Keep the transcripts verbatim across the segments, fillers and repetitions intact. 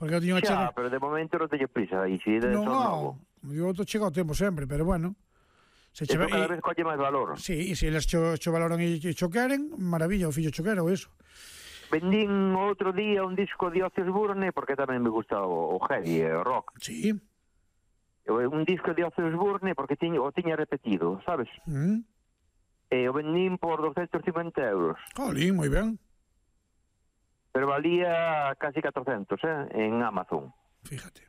Porque eu tiño Xa, chegado... pero de momento non teño prisa. E si de Non, son novo. eu outro chego ao tempo sempre, pero bueno. Se Isto che... cada vez colle máis valor. Sí, e se eles cho, cho valoran e cho queren, maravilla, o fillo cho quero, eso. Vendín outro día un disco de Ozzy Osbourne, porque tamén me gusta o, o heavy, o rock. Sí. Un disco de Ozzy Osbourne, porque tiño, o tiña repetido, sabes? Mm. E o vendín por doscientos cincuenta euros. Jolín, moi ben. Pero valía casi catrocentos, eh, en Amazon. Fíjate.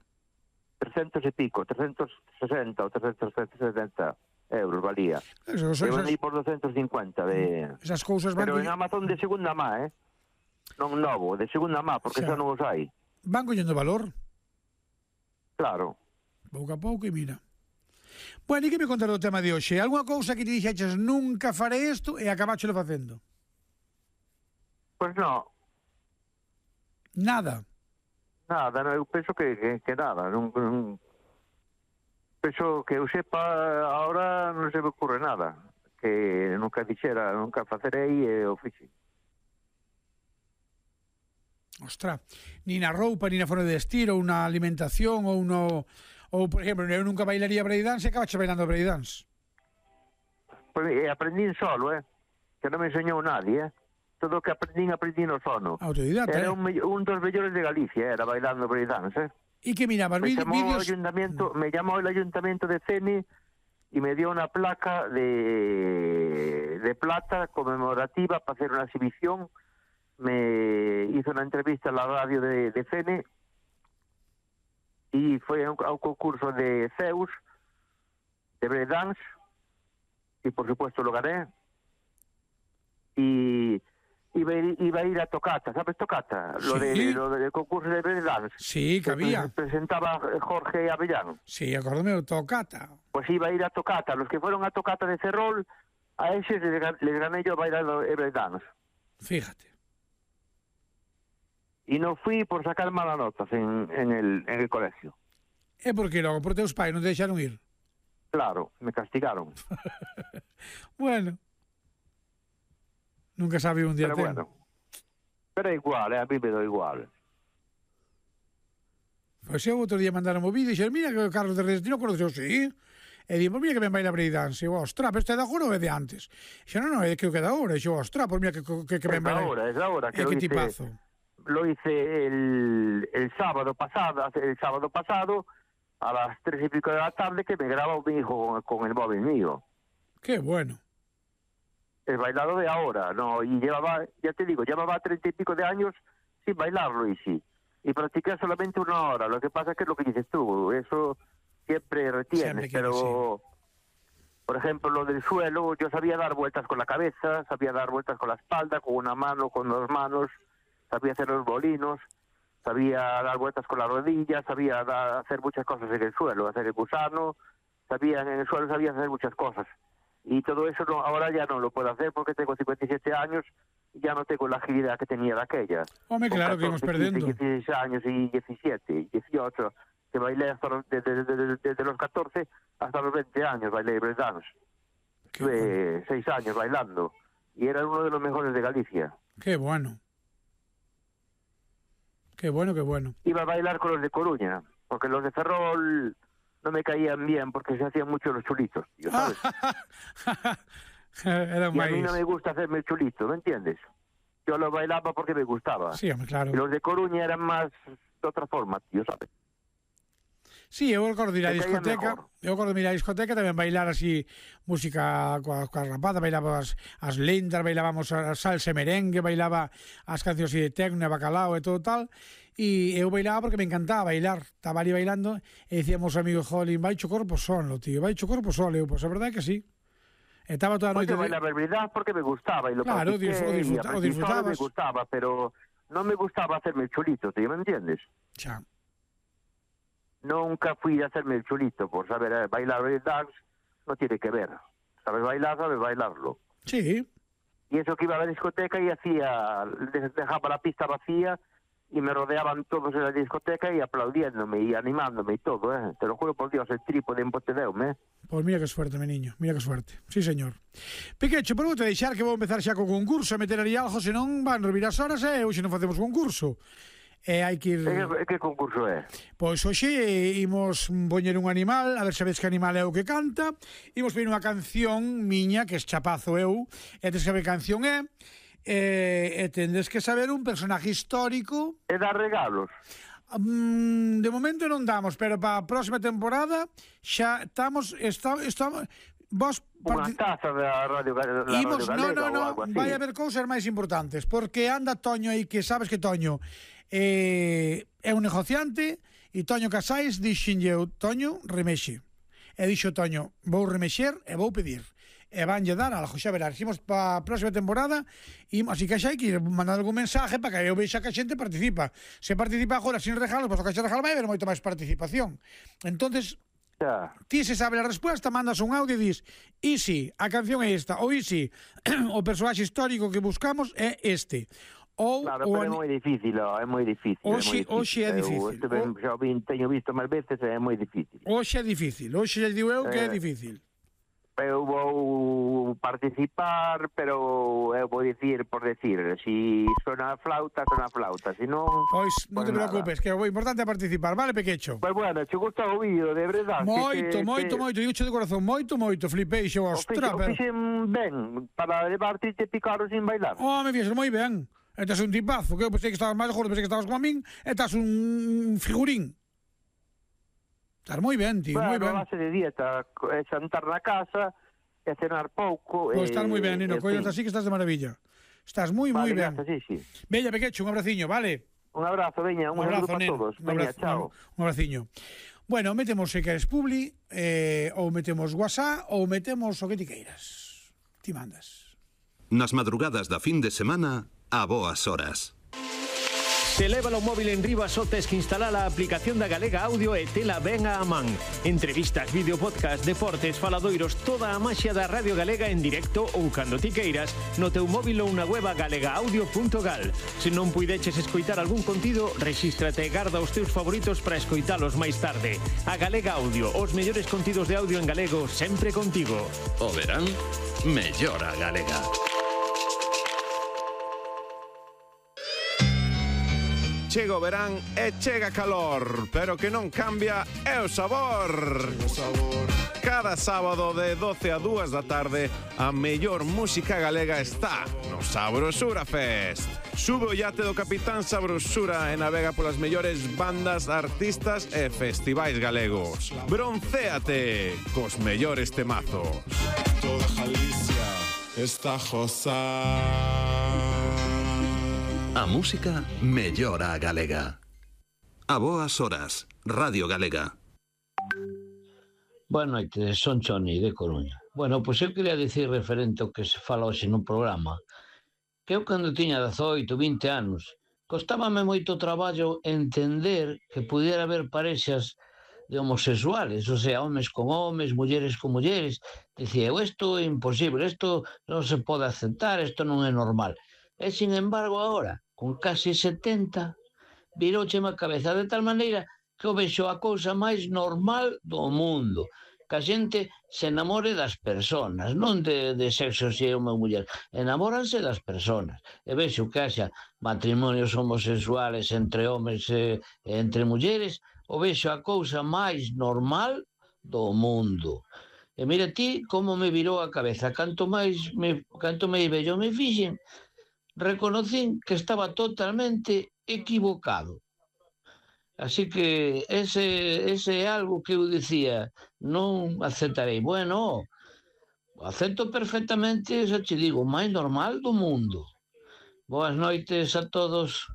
trescientos e pico, trescientos sesenta ou trescientos setenta euros valía. Eso, eso, Eu esas, vendí por doscientos cincuenta de... esas cousas van... Pero en Amazon de segunda má, eh? Non novo, de segunda má, porque Xa. xa non os hai. Van collendo valor, Claro. pouco a pouco, e mira. Bueno, e que me contar do tema de hoxe? Alguna cousa que te dixeches nunca faré isto e acabáchelo facendo? Pois non, Nada. nada, no, eu penso que, que, que nada. Non, non, penso que eu sepa, ahora non se me ocurre nada. Que nunca dixera, nunca facerei e o fixe. Ostra, ni na roupa, ni na forma de vestir, ou na alimentación, ou no... Ou, por exemplo, eu nunca bailaría breakdance e acabache bailando breakdance. Pois, e aprendín solo, eh? Que non me enseñou nadie, eh? Todo o que aprendín, aprendín no sono. Autodidata, Era eh? un, me- un dos mellores de Galicia, era bailando breakdance, eh? E que mirabas, Me vídeos... llamó, el vídeos... ayuntamiento, me llamó el ayuntamiento de Ceni y me dio una placa de, de plata conmemorativa para hacer una exhibición. Me hizo una entrevista en la radio de, de Ceni y fue a un, a un concurso de Zeus, de breakdance, y por supuesto lo gané. Y iba a ir, iba a, ir a Tocata, ¿sabes Tocata? Lo, Sí. de, lo del concurso de breakdance. Sí, que había. Presentaba Jorge Avellán. Sí, acórdame, Tocata. Pues iba a ir a Tocata. Los que fueron a Tocata de Ferrol, a esos les, gan- les gané yo bailando breakdance. Fíjate. Y no fui por sacar malas notas en, en, el, en el colegio. É porque logo, por teus pais non te deixaron ir. Claro, me castigaron. Bueno. Nunca sabe un día Pero ten. bueno. Pero é igual, eh, a mí me do igual. Pois eu outro día mandaron o vídeo e dixeron, mira que o Carlos de Redes, ti non acordas? Eu, sí. E dixo, mira que ben baila breakdance. E eu, ostra, pero este é de agora ou é de antes? E dixo, non, non, é que o que é de agora. E eu, ostra, pois mira que, que, que ben Es baila. ahora, es ahora É que lo que hice, tipazo. lo hice el, el sábado pasado, el sábado pasado a las tres y pico de la tarde que me graba mi hijo con, con el móvil mío. Qué bueno. El bailado de ahora, no, y llevaba, ya te digo, llevaba treinta y pico de años sin bailarlo y sí. Y practiqué solamente una hora, lo que pasa es que es lo que dices tú, eso siempre retienes, Siempre que pero por ejemplo lo del suelo, yo sabía dar vueltas con la cabeza, sabía dar vueltas con la espalda, con una mano, con dos manos, sabía hacer los bolinos, sabía dar vueltas con la rodilla, sabía dar- hacer muchas cosas en el suelo, hacer el gusano, sabía en el suelo sabía hacer muchas cosas. Y todo eso no, ahora ya no lo puedo hacer porque tengo cincuenta y siete años y ya no tengo la agilidad que tenía de aquella. Home, Con claro que íbamos catorce, quince, perdendo. dieciséis años y diecisiete, dieciocho, que bailé hasta los- desde, desde- desde los catorce hasta los veinte años bailé breakdance. Qué Estuve bueno. seis años bailando y era uno de los mejores de Galicia. Qué bueno. Qué bueno, qué bueno. Iba a bailar con los de Coruña, porque los de Ferrol no me caían bien porque se hacían mucho los chulitos, tío, ¿sabes? Era Y a mí máis... no me gusta hacerme el chulito, ¿me entiendes? Yo lo bailaba porque me gustaba. Sí, home, claro. Y los de Coruña eran más de otra forma, tío, ¿sabes? Sí, eu acordo de ir á Me caía discoteca, mejor. eu acordo de ir á discoteca tamén bailar así música coa, coa rapada, bailaba as, as lentas, bailábamos a salsa e merengue, bailaba as cancións así de tecno e bacalao e todo tal, e eu bailaba porque me encantaba bailar, estaba ali bailando e dicíamos amigos, jolín, vai cho corpo solo, tío, vai cho corpo solo, eu, pois a verdade é que sí. Estaba toda a Pues noite... yo bailaba en verdad porque me gustaba y lo Claro, practiqué disfr- o disfruta- y o aprendí solo y me disfrutabas. gustaba, pero no me gustaba hacerme el chulito, tío, ¿me entiendes? Xa. Nunca fui a hacerme el chulito por saber eh, bailar breakdance, no tiene que ver. Sabes bailar, sabes bailarlo. Sí, Y eso que iba a la discoteca y hacía, de- dejaba la pista vacía y me rodeaban todos en la discoteca y aplaudiéndome y animándome y todo, ¿eh? Te lo juro por Dios, el trípode en Pontedeume, ¿eh? pois mira que suerte, mi niño, mira que suerte. Sí, señor. Piquecho, pero vou te deixar que vou empezar xa co concurso, a meter ali algo, senón van revir as horas e hoxe non facemos concurso. E hai que ir... E que concurso é? Pois hoxe imos poñer un animal, a ver se sabes que animal é o que canta. Imos poñer unha canción miña, que es chapazo eu, e tes que saber que canción é, e, e tendes que saber un personaje histórico. E dar regalos? Mm, de momento non damos, pero para a próxima temporada xa estamos... estamos, estamos vos Unha taza da Radio, da Imos, Radio Galega no, no, ou algo no, así? vai haber cousas máis importantes, porque anda Toño aí, que sabes que Toño eh, é un negociante, e Toño Casais dixenlle eu, Toño, remexe. E dixo Toño, vou remexer e vou pedir. E vanlle dar algo, xa verás. Imos para a próxima temporada, e así que xa hai que ir mandar algún mensaje para que eu vexa que a xente participa. Se participa agora sin regalos, pois o que xa regalo vai haber moito máis participación. Entonces, xa. Ti se sabe a resposta, mandas un audio e dis e si, a canción é esta, ou e si, o personaxe histórico que buscamos é este. Ou, Claro, ou pero é moi difícil, ó, é moi difícil. Oxe, oxe é difícil. Eu, eu, xa vin, teño visto máis veces e é moi difícil. Oxe é difícil, oxe já digo eu que é Eh, difícil. Eu vou participar, pero eu vou dicir por decir, si sona a flauta, sona a flauta, si non... Pois non pues te preocupes, que o importante é participar, vale, Pequecho? Pois bueno, che gusta o vídeo, de verdade. Moito, que, moito, que... moito, digo de corazón, moito, moito, flipei, xo, O ostra, fixen, o pero... fixen ben, para levarte e te picaron sin bailar. Oh, me fixes moi ben. E estás un tipazo, que eu pensei que estabas máis gordo, pensei que estabas como a min, e estás un figurín. Estás moi ben, tío, moi ben. Bueno, a base de dieta, é xantar na casa, e cenar pouco... Pois estás moi ben, Nino, coidas así que estás de maravilla. Estás moi, moi vale, ben. Gracias, sí, sí. Veña, Pequecho, un abraciño, vale? Un abrazo, veña, un, Un abrazo, saludo para neno. todos. Un Veña, abrazo, chao. un abraciño. Bueno, metemos se queres Publi, eh, ou metemos WhatsApp, ou metemos o que ti queiras. Ti mandas. Nas madrugadas da fin de semana, a boas horas. Se leva o móvil en riba só tes que instalar a aplicación da Galega Audio e tela ben a man. Entrevistas, vídeo, podcast, deportes, faladoiros, toda a maxia da Radio Galega en directo ou cando ti queiras no teu móvil ou na web galega audio punto gal. Se non puideches escoitar algún contido, rexístrate e garda os teus favoritos para escoitalos máis tarde. A Galega Audio, os mellores contidos de audio en galego sempre contigo. O verán, mellora Galega. Chega o verán e chega calor, pero que non cambia é o sabor. Cada sábado de doce a dúas da tarde, a mellor música galega está no Sabrosura Fest. Sube o iate do Capitán Sabrosura e navega polas mellores bandas, artistas e festivais galegos. Broncéate cos mellores temazos. Toda Galicia está josá. A música mellora a galega. A boas horas, Radio Galega. Boa noite, son Choni de Coruña. Bueno, pois eu queria dicir referente ao que se fala hoxe no programa, que eu cando tiña dezoito, vinte anos, costábame moito traballo entender que pudiera haber parexas de homosexuales, o sea, homes con homes, mulleres con mulleres. Dicía, eu, isto é imposible, isto non se pode aceptar, isto non é normal. E, sin embargo, agora, con casi setenta, viroucheme a cabeza de tal maneira que eu vexo a cousa máis normal do mundo. Que a xente se enamore das persoas, non de, de sexo se é unha muller. Enamóranse das persoas. E vexo que haxa matrimonios homosexuales entre homes e, e entre mulleres, o vexo a cousa máis normal do mundo. E mira ti como me virou a cabeza. Canto máis me, canto máis bello me fixen, reconocín que estaba totalmente equivocado. Así que ese, ese é algo que eu dicía, non aceptarei. Bueno, acepto perfectamente, xa te digo, o máis normal do mundo. Boas noites a todos.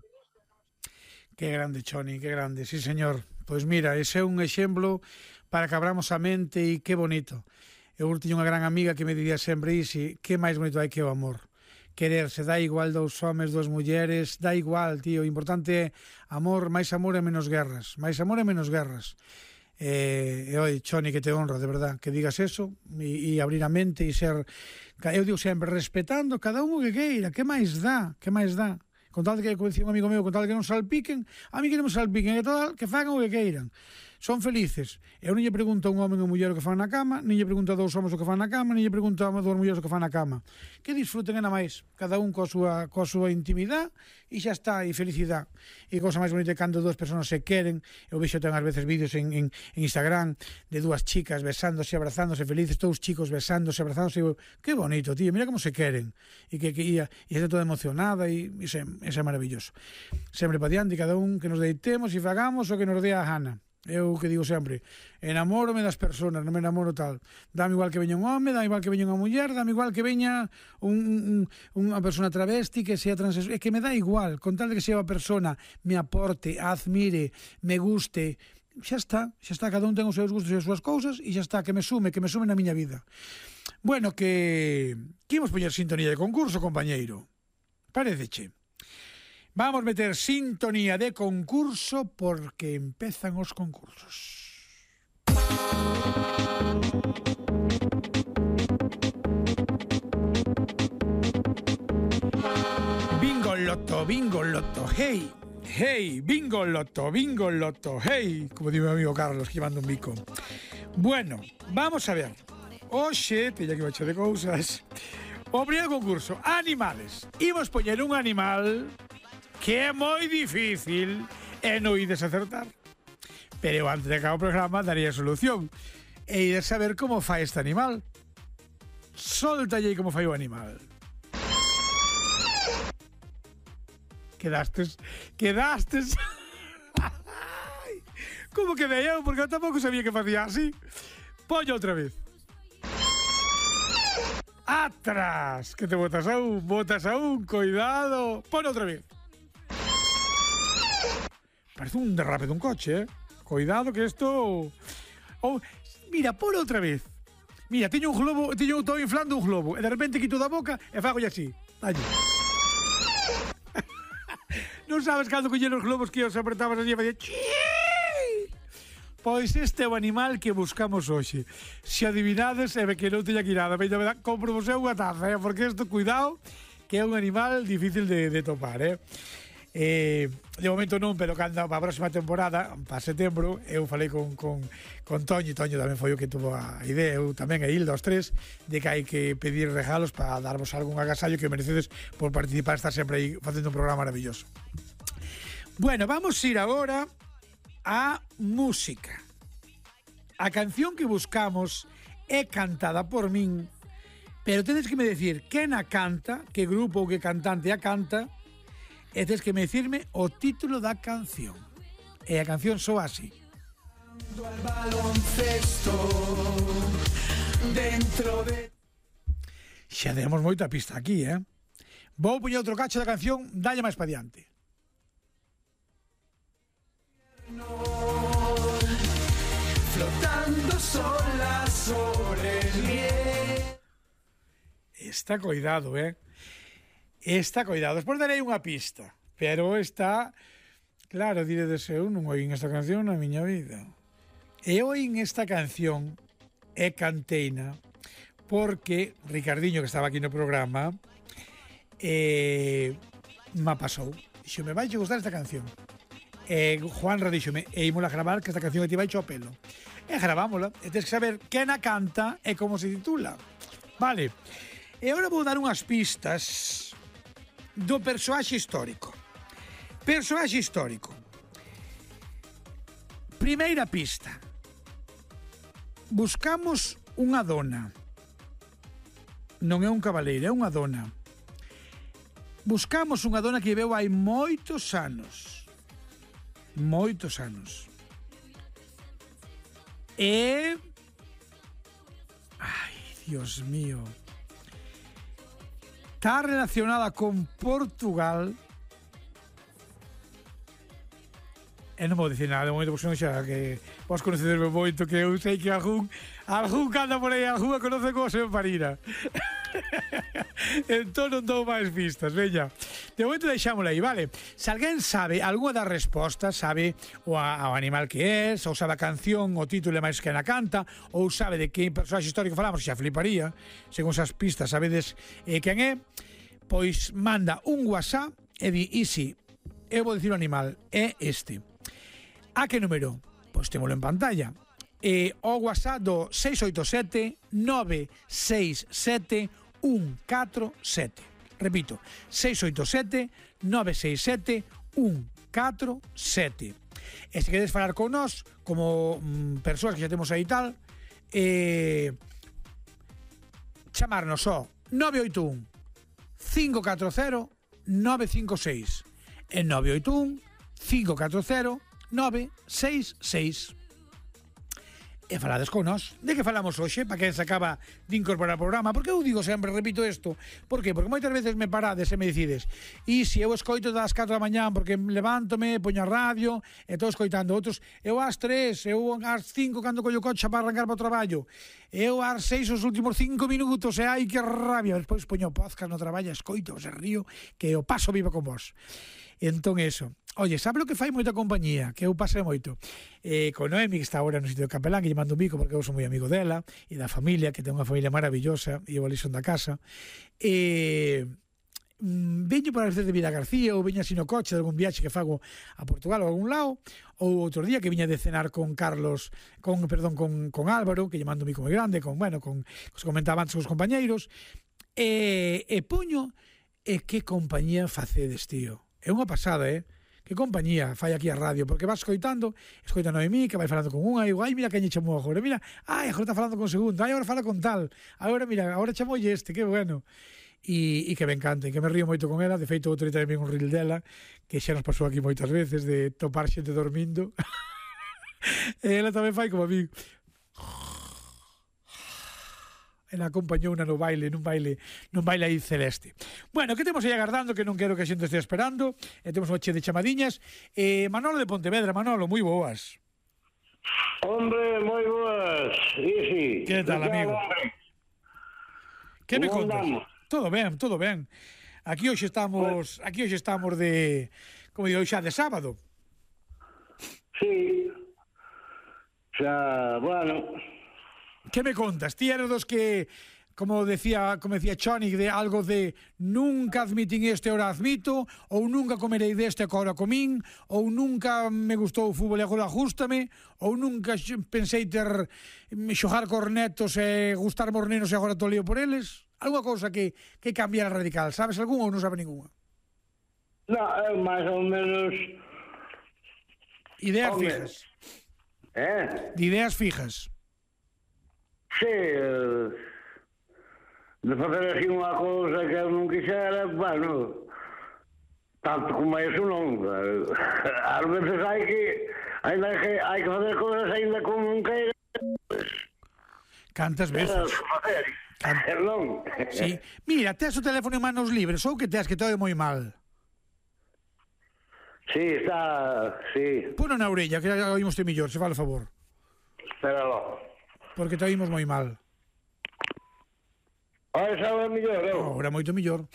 Que grande, Choni, que grande, sí, señor. Pois mira, ese é un exemplo para que abramos a mente e que bonito. Eu tiño unha gran amiga que me dicía sempre iso, que máis bonito hai que o amor. Quererse, dá igual dous homes, dous mulleres, dá igual, tío, o importante é amor, máis amor e menos guerras, máis amor e menos guerras. E, e oi, Choni, que te honra, de verdad, que digas eso e, e abrir a mente e ser, eu digo sempre, respetando cada un o que queira, que máis dá, que máis dá. Con tal que, como dicía un amigo meu, con tal que non salpiquen, a mí que non me salpiquen, que tal, que fagan o que queiran. son felices. Eu non lle pregunto a un home ou muller o que fan na cama, nin lle pregunto a dous homens o que fan na cama, nin lle pregunto a dous mulleres o que fan na cama. Que disfruten, nada máis, cada un coa súa, coa súa intimidade, e xa está, e felicidade. E cosa máis bonita cando dúas persoas se queren. Eu vexo ten ás veces vídeos en, en, en Instagram de dúas chicas besándose, abrazándose, felices, dous chicos besándose, abrazándose, e digo, que bonito, tío, mira como se queren. E que, que ia, e está toda emocionada, e iso é maravilloso. Sempre para diante, cada un que nos deitemos e fagamos o que nos dé a gana. Eu que digo sempre, enamórome das persoas, non me enamoro tal. Dame igual que veña un home, dame igual que veña unha muller, dame igual que veña un, un, unha persona travesti, que sea transexual, é que me dá igual, con tal de que sea unha persona me aporte, admire, me guste, xa está, xa está, cada un ten os seus gustos e as súas cousas, e xa está, que me sume, que me sume na miña vida. Bueno, que... que imos poñer sintonía de concurso, compañeiro? Pareceche? Vamos meter sintonía de concurso porque empezan os concursos. Bingo loto, bingo loto, hey, hey, bingo loto, bingo loto, hey, como digo mi amigo Carlos, que manda un bico. Bueno, vamos a ver. Oxe, teña que baixar de cousas. O primeiro concurso, animales. Imos poñer un animal que é moi difícil e non ides acertar. Pero antes de acabar o programa daría solución. E ides saber como fai este animal. Soltalle como fai o animal. Quedastes, quedastes. Como quedei eu? Porque eu tampouco sabía que facía así. Poño outra vez. Atrás, que te botas a un, botas a un, cuidado. Pon outra vez. Parece un derrape dun coche, eh? Cuidado que isto... Oh, mira, por outra vez. Mira, teño un globo, teño todo inflando un globo, e de repente quito da boca e fago así. Allí. Non sabes cando collían os globos que os apretabas así e facía... Pois este é o animal que buscamos hoxe. Se adivinades, é que non teña que ir nada. Veña, compro vos unha taza, eh? Porque isto, cuidado, que é un animal difícil de, de topar, eh? Eh, de momento non, pero cando para a próxima temporada, para setembro, eu falei con, con, con Toño, e Toño tamén foi o que tuvo a idea, eu tamén e Hilda, os tres, de que hai que pedir regalos para darvos algún agasallo que merecedes por participar, estar sempre aí facendo un programa maravilloso. Bueno, vamos a ir agora a música. A canción que buscamos é cantada por min, pero tedes que me decir quen a canta, que grupo ou que cantante a canta, e tens que me dicirme o título da canción. E a canción soa así. Xa demos moita pista aquí, eh? Vou poñer outro cacho da canción, dalle máis pa diante. Flotando sola sobre el hielo. Está cuidado, eh? Está cuidado. Despois darei unha pista, pero está... Claro, diredes, eu non oín esta canción na miña vida. E oín esta canción e canteina porque Ricardiño, que estaba aquí no programa, eh, me pasou. Dixo, me vai a gustar esta canción. E Juanra díxome, e ímola a gravar, que esta canción te vai ao pelo. E gravámola. E tens que saber quen a canta e como se titula. Vale. E agora vou dar unhas pistas do persoaxe histórico. Persoaxe histórico. Primeira pista. Buscamos unha dona. Non é un cabaleiro, é unha dona. Buscamos unha dona que viveu hai moitos anos. Moitos anos. E... Ai, Dios mío... Está relacionada con Portugal. E non vou dicir nada de momento, porque non xa que vos conocerme moito, que eu sei que algún algún que anda por aí, algún a conoce como se me parira. Entón non dou máis pistas, veña. De momento deixámosla aí, vale? Se alguén sabe algunha das respostas, sabe o, a, o animal que é, ou sabe a canción, o título é máis que na canta, ou sabe de que personaxe histórico falamos, xa fliparía, según esas pistas sabedes eh, quen é, pois manda un WhatsApp e di, e si, eu vou dicir o animal, é este. A que número? pois témolo en pantalla. E o WhatsApp do seis oito sete nove seis sete un catro sete. Repito, seis oito sete nove seis sete un catro sete. E se queredes falar con nós, como mm, persoas que xa temos aí tal, eh, chamarnos ao nove oito un cinco catro cero nove cinco seis e nove oito un cinco catro cero nove seis seis. E falades con nós. De que falamos hoxe? Para quen se acaba de incorporar ao programa. Porque eu digo sempre, repito isto. Por que? Porque moitas veces me parades e me decides e se eu escoito das catro da mañán porque levántome, poño a radio e estou escoitando outros, eu ás tres, eu ás cinco cando collo coche para arrancar para o traballo, eu ás seis os últimos cinco minutos e ai que rabia, despois poño podcast no traballo, escoito, se río, que o paso vivo con vos. Entón eso. Oye, sabe o que fai moita compañía? Que eu pasei moito. Eh, con Noemi, que está agora no sitio de Capelán, que lle mando un bico porque eu sou moi amigo dela, e da familia, que ten unha familia maravillosa, e eu ali son da casa. E... Mm, veño para veces de Vida García, ou veño así no coche de algún viaxe que fago a Portugal ou a algún lado, ou outro día que viña de cenar con Carlos, con, perdón, con, con Álvaro, que lle mando un bico moi grande, con, bueno, con, os comentaba antes os compañeiros, e, e puño, e que compañía facedes, tío. É unha pasada, eh? Que compañía fai aquí a radio, porque vas escoitando, escoita a Noemí, que vai falando con unha, e digo, ai, mira que lle chamou agora, mira, ai, agora está falando con segundo, ai, agora fala con tal, agora, mira, agora chamoulle este, que bueno. E, e que me encanta, e que me río moito con ela, de feito, outro día tamén un reel dela, que xa nos pasou aquí moitas veces, de topar xente dormindo, e ela tamén fai como a mí. Ela acompañouna no baile, nun baile, nun baile aí celeste. Bueno, que temos aí agardando, que non quero que a xente estea esperando, e temos unha che de chamadiñas. Eh, Manolo de Pontevedra, Manolo, moi boas. Hombre, moi boas. Isi. Que tal, amigo? Que me Como contas? andamos? Todo ben, todo ben. Aquí hoxe estamos, aquí hoxe estamos de, como digo, xa de sábado. Sí. Xa, bueno... Que me contas? Ti eres dos que, como decía, como decía Chonic, de algo de nunca admitín este, ahora admito, ou nunca comerei deste, agora comín, ou nunca me gustou o fútbol e agora ajústame, ou nunca pensei ter xogar cornetos e gustar mornenos e agora tô lío por eles. Alguna cousa que, que cambiara radical, sabes algún ou non sabe ninguna? No, é máis ou menos... Ideas Hombre. fijas. Eh? De ideas fijas. Sí, eh, de facer así unha cousa que eu non quixera, bueno, tanto como eso non. Ás veces hai que, ainda que hai que fazer cousas ainda como non queira. Cantas veces? Facer, facer non. Sí. Mira, tes o teléfono en manos libres ou que tes que te oe moi mal? Sí, está, sí. Puno na orella, que oímos te millor, se fala a favor. Espéralo. Porque te oímos moi mal. Ahora sabe mellor, eu? Ahora moito millor.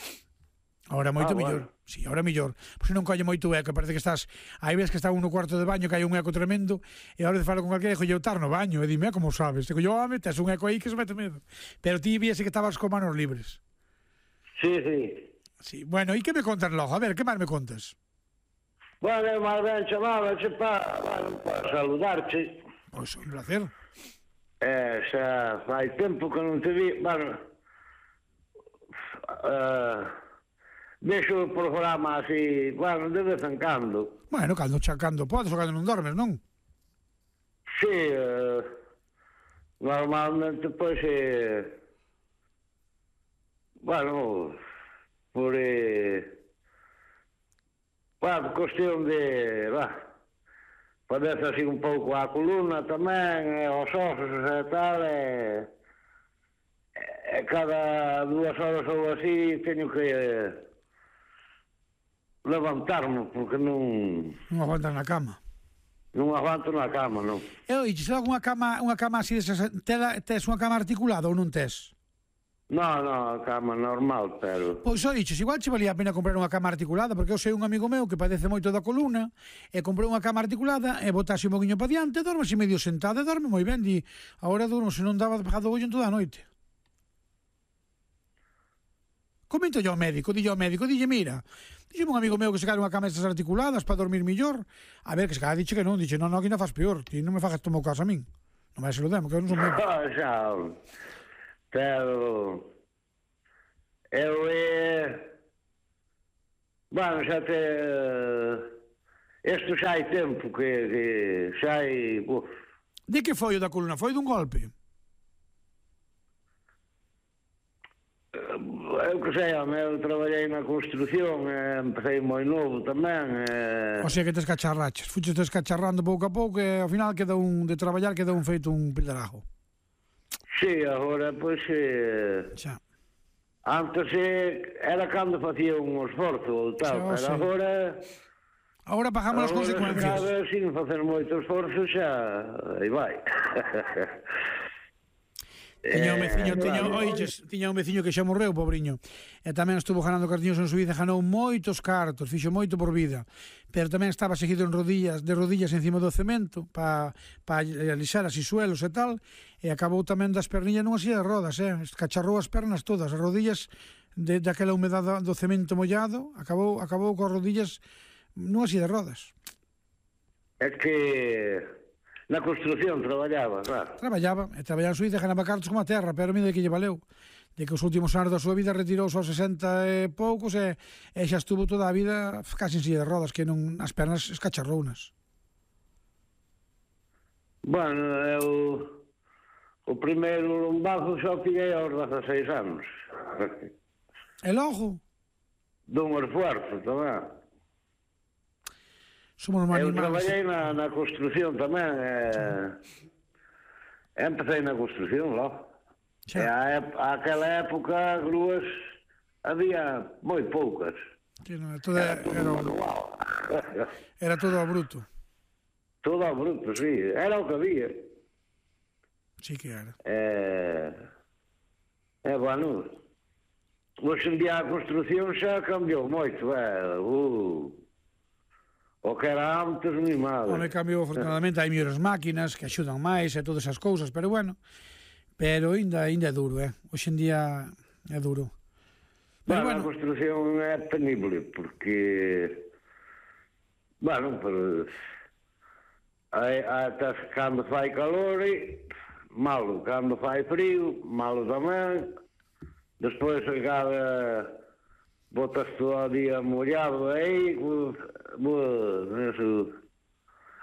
Ahora moito Ah, millor. bueno. Sí, ahora millor. Pois non colle moito eco, parece que estás... Aí ves que está un no cuarto de baño, que hai un eco tremendo, e ahora de falo con calquera, dijo, eu estar no baño, e dime, como sabes? Digo, yo, home, tes un eco aí que se mete medo. Pero ti viese que estabas con manos libres. Sí, sí. Sí, bueno, e que me contas logo? A ver, que máis me contas? Bueno, eu máis ben chamábache para, bueno, para saludarte. Pois, un placer. Eh, xa fai tempo que non te vi, bueno, uh, deixo o programa así, bueno, de vez en cando. Bueno, cando chacando podes ou cando non dormes, non? Sí, uh, normalmente, pois, eh, bueno, por, eh, bueno, cuestión de, va, padece así un pouco a columna tamén, e os osos e tal, e, e cada dúas horas ou así teño que eh, levantarme, porque non... Non aguantas na cama. Non aguanto na cama, non. E oi, se unha cama, unha cama así, desas, tes unha cama articulada ou non tes? Non, non, cama normal, pero... Pois o diches, igual che valía a pena comprar unha cama articulada, porque eu sei un amigo meu que padece moito da columna, e comprou unha cama articulada, e botase un poquinho para diante, dorme así medio sentado, e dorme moi ben, di, agora durmo, se non daba pegado ollo en toda a noite. comento yo ao médico, dille ao médico, dille, mira, dille un amigo meu que se cae unha cama estas articuladas para dormir millor, a ver, que se cae, dixe que non, dixe, non, non, aquí non faz peor, ti non me fagas tomar caso a min, non vai se lo demo, que eu non son médico. Xa, pero eu é bueno, xa te isto xa hai tempo que, que xa hai uf. De que foi o da columna? Foi dun golpe? Eu que sei, eu traballei na construción, eh, empecé moi novo tamén. Eh... O sea que te escacharraches, fuches escacharrando pouco a pouco e ao final queda un, de traballar queda un feito un pildrajo. Sí, agora, pois, eh... xa. Antes eh, era cando facía un esforzo ou tal, pero agora... Agora pagamos as consecuencias. Agora, sin facer moito esforzo, xa... aí vai. Tiña un veciño, tiña, oiches, tiña un veciño que xa morreu, pobriño. E tamén estuvo ganando cartiños en Suiza, ganou moitos cartos, fixo moito por vida. Pero tamén estaba seguido en rodillas, de rodillas encima do cemento para pa alisar así suelos e tal, e acabou tamén das perniñas nunha silla de rodas, eh? Cacharrou as pernas todas, as rodillas de daquela humedade do cemento mollado, acabou acabou coas rodillas nunha silla de rodas. É que na construción traballaba, claro. Traballaba, e traballaba en Suiza, ganaba cartos como a terra, pero mira de que lle valeu. De que os últimos anos da súa vida retirouse aos sesenta e poucos e, e xa estuvo toda a vida casi en silla de rodas, que non as pernas escacharrounas. Bueno, eu o primeiro lombazo xa o pillei aos dezaseis anos. E logo? Dun esfuerzo tamén. Somos eu animales. traballei na, na construción tamén. Eh, empecé na construción, logo. E a, a aquela época grúas había moi poucas. Sí, no, todo era, era, era todo a bruto. Todo a bruto, sí. Era o que había. Sí que era. Eh, eh, bueno, hoxe en día a construción xa cambiou moito. Eh, uh, o que era antes, mi madre. Home, cambiou, afortunadamente, hai mellores máquinas que axudan máis e todas esas cousas, pero bueno, pero ainda, ainda é duro, eh? Hoxe en día é duro. Pero, bueno, a construción é penible, porque, bueno, pero, ata cando fai calor, malo, cando fai frío, malo tamén, despois cada botas todo o día mollado aí, eso.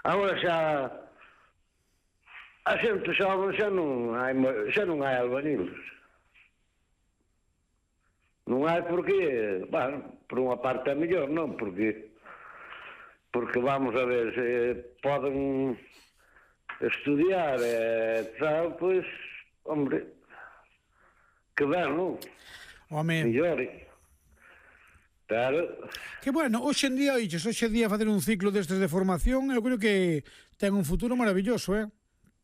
Agora xa a xente xoven xa non hai xa non hai albañiles. Non hai porque, bueno, por unha parte é mellor, non, porque porque vamos a ver, se poden estudiar e tal, pois, hombre, que ben, non? Home, mellor. Claro. Que bueno, hoxe en día, oiches, hoxe en día facer un ciclo destes de formación, eu creo que ten un futuro maravilloso, eh?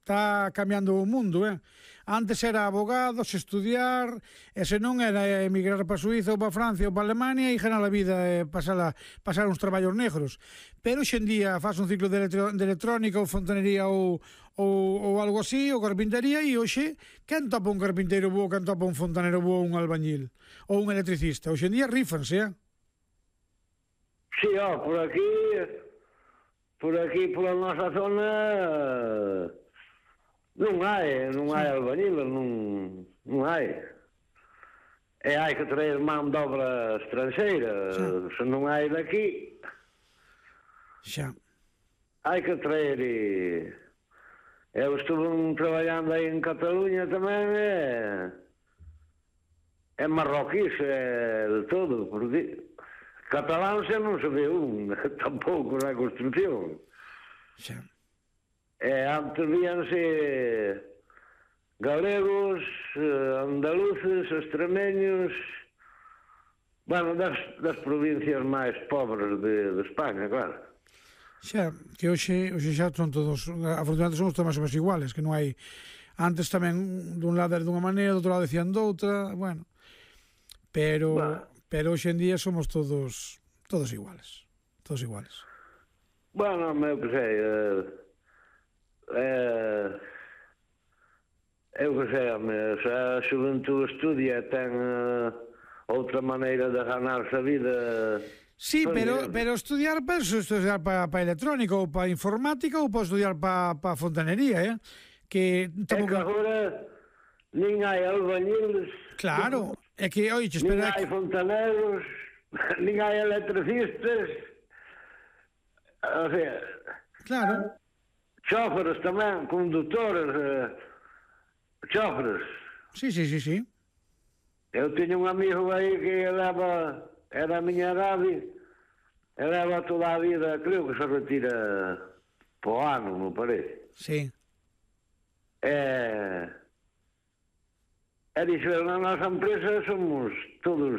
Está cambiando o mundo, eh? Antes era abogados, estudiar, e se non era emigrar para Suiza ou para Francia ou para Alemania e ganar a vida e pasar, a, pasar uns traballos negros. Pero hoxe en día faz un ciclo de, electro, de electrónica ou fontanería ou, ou, ou algo así, ou carpintería, e hoxe, quen topa un carpinteiro bo, quen topa un fontanero bo, un albañil ou un electricista? Hoxe en día rífanse, eh? Sí, ó, por aquí, por aquí, pola nosa zona, non hai, non hai albañiles, non, non hai. E hai que traer man de obra estranxeira, se non hai daqui, xa. Hai que traer e... Eu estuve traballando aí en Cataluña tamén e... É marroquís, é de todo, porque... Catalán xa non se ve un, tampouco na construcción. Xa. E antes víanse galegos, andaluces, extremeños, bueno, das, das provincias máis pobres de, de España, claro. Xa, que hoxe, hoxe xa son todos, afortunadamente somos todos máis ou menos iguales, que non hai, antes tamén dun lado era dunha maneira, do outro lado decían doutra, bueno, pero... Bueno. Pero hoxe en día somos todos todos iguales, todos iguales. Bueno, eu que sei, eh, eh, eu que sei, se a xuventude estudia, ten eh, outra maneira de ganarse a vida. Sí, pero, pero estudiar, penso, estudiar para pa electrónica ou para informática ou para estudiar para pa fontanería, eh? Que, é que agora nin hai albañiles. Claro, é que, oye, espera... Nin hai fontaneros, nin hai electricistas, o sea... Claro. Chóferes tamén, condutores, eh, chóferes. Sí, sí, sí, sí. Eu teño un amigo aí que leva, era a miña edade, e leva toda a vida, creo que se retira po ano, me parece. Sí. E, e dixo, na nosa empresa somos todos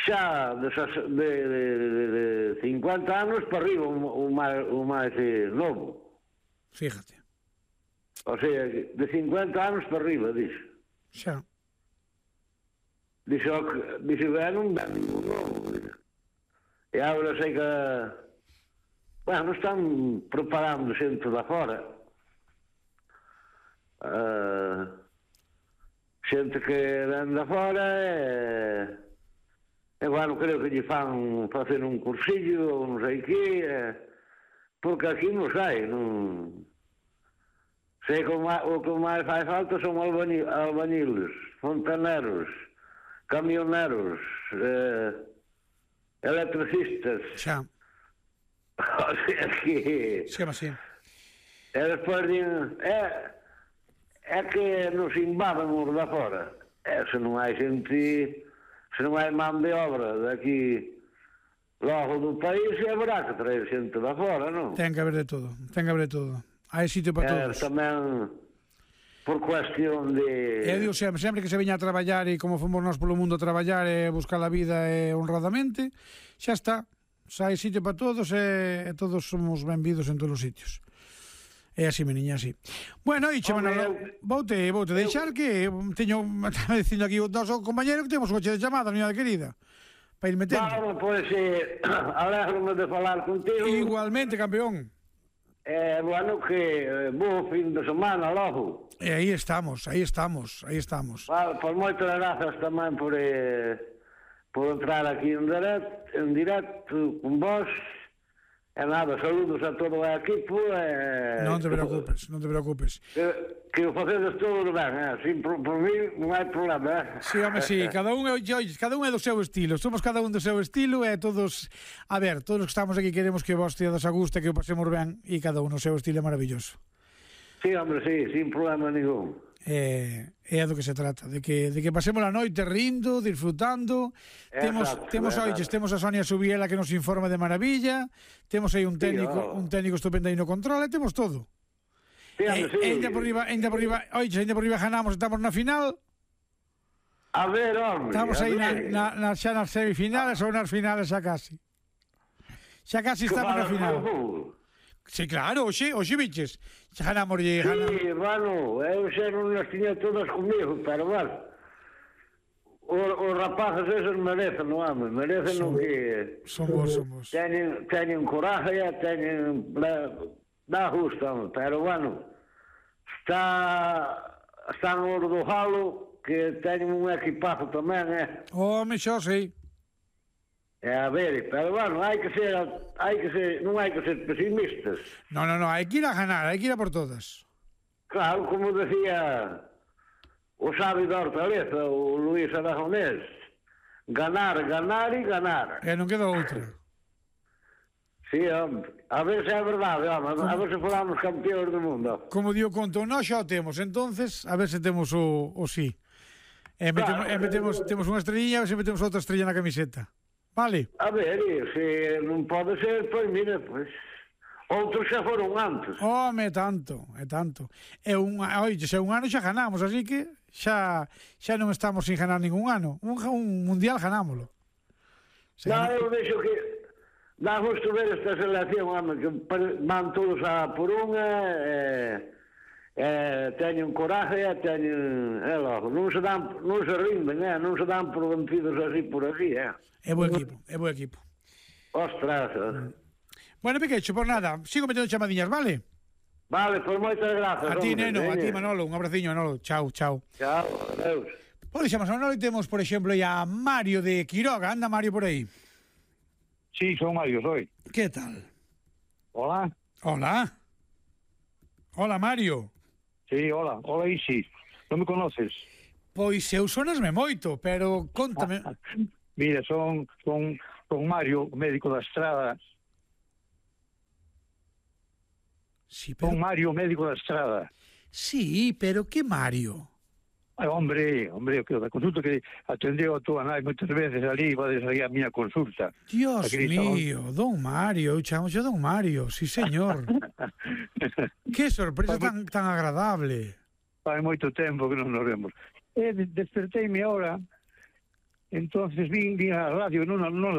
xa de, de, de, de cincuenta anos para arriba, o máis, o máis eh, novo. Fíjate. O sea, de cincuenta anos para arriba, dixo. Xa. Dixo, dixo, ben, non ben ningún novo. E agora sei que, bueno, están preparando xente da fora. Uh, xente que ven da fora e... E, bueno, creo que lle fan facer un cursillo ou non sei que, eh, porque aquí non sai, non... Sei que o, o que máis fai falta son albañi, albañiles, fontaneros, camioneros, eh, electricistas. Xa. O sea que... Chama así. E despois din, é, é que nos invaden os da fora. E se non hai xente... Se non hai man de obra daqui logo do país, haberá que traer xente da fora, non? Ten que haber de todo, ten que haber de todo. Hai sitio para todos. É, tamén por cuestión de... Eu digo sempre, sempre que se veña a traballar e como fomos nós polo mundo a traballar e buscar a vida e honradamente, xa está. Xa hai sitio para todos e, e todos somos benvidos en todos os sitios. É así, meniña, así. Bueno, e Manolo, voute, voute deixar que teño, estaba dicindo aquí o noso compañero que temos coche de chamada, miña querida, para ir metendo. Claro, pois, eh, alegro-me de falar contigo. Igualmente, campeón. Eh, bueno, que eh, bo fin de semana logo. E aí estamos, aí estamos, aí estamos. Vale, pois moitas grazas tamén por, eh, por entrar aquí en directo, en directo con vos. E nada, saludos a todo o equipo e... Non te preocupes, non te preocupes. Que, que o facedes todo ben, eh? Sin, por, por mí non hai problema, eh? Sí, home, sí, cada un, é, cada un é do seu estilo, somos cada un do seu estilo e todos, a ver, todos os que estamos aquí queremos que vos teades a gusto, que o pasemos ben e cada un o seu estilo é maravilloso. Sí, hombre, sí, sin problema ningún. É, é do que se trata, de que, de que pasemos a noite rindo, disfrutando. Exacto, temos temos oiches, temos a Sonia Subiela que nos informa de maravilla, temos aí un técnico, sí, oh. un técnico estupendo aí no control, e temos todo. Sí, hombre, sí. E ainda por riba, ainda por riba, oiches, ainda por riba ganamos, estamos na final. A ver, hombre. Estamos aí na, ver. na, na, xa nas semifinales ou nas finales xa casi. Xa casi estamos na final. Sí, claro, oxe, oxe, biches. Xa ganamos e ganamos. Sí, bueno, eu xa non as tiña todas comigo, pero bueno. Os, os rapaces esos merecen, non home, merecen o que... Somos, somos. Teñen, teñen coraje, teñen... Dá gusto, home, pero bueno, está... Están os do Jalo, que teñen un equipazo tamén, eh? Home, xo, sí. É, a ver, pero bueno, hai que ser, hai que ser, non hai que ser pesimistas. No, no, no, hai que ir a ganar, hai que ir a por todas. Claro, como decía o sabio da Hortaleza, o Luís Aragonés, ganar, ganar e ganar. E non queda outra. Sí, hombre, a ver se é verdade, hombre, a ver se falamos campeóns do mundo. Como digo, conto, nós xa o temos, entonces, a ver se temos o, o sí. E metemos, claro, e metemos, temos unha estrellina, a ver se metemos outra estrella na camiseta. Vale. A ver, se non pode ser, pois mira, pois outros xa foron antes. Home, tanto, é tanto. É un, oye, se un ano xa ganamos, así que xa xa non estamos sin ganar ningún ano. Un, un mundial ganámoslo. Non, eu vexo que dá gusto ver esta selección, home, que van todos a por unha, e, e teñen coraje, e teñen, é logo, non se dan, non se rinden, eh, non se dan por vencidos así por así, eh. É bo equipo, é bo equipo. Ostras. Mm. Bueno, Piquecho, por nada, sigo metendo chamadiñas, vale? Vale, pois moitas grazas. A ti, hombre, neno, veña. a ti, Manolo, un abraciño, Manolo. Chao, chao. Chao, adeus. Ora, xa, Manolo, temos, por exemplo, a Mario de Quiroga. Anda, Mario, por aí. Sí, son Mario, soy. Que tal? Hola. Hola. Hola, Mario. Sí, hola. Hola, Isi. Non me conoces? Pois eu sonasme moito, pero contame... Mira, son, son, son Mario, médico da Estrada. Sí, pero... Son Mario, médico da Estrada. Sí, pero que Mario? Ai, hombre, hombre, que da consulta que atendeu a tua nai moitas veces ali, vades aí a miña consulta. Dios Aquí mío, don Mario, eu chamo xa don Mario, sí señor. Que sorpresa tan, tan agradable. Fai moito tempo que non nos vemos. E desperteime ahora, entonces vin, vin a radio, non, non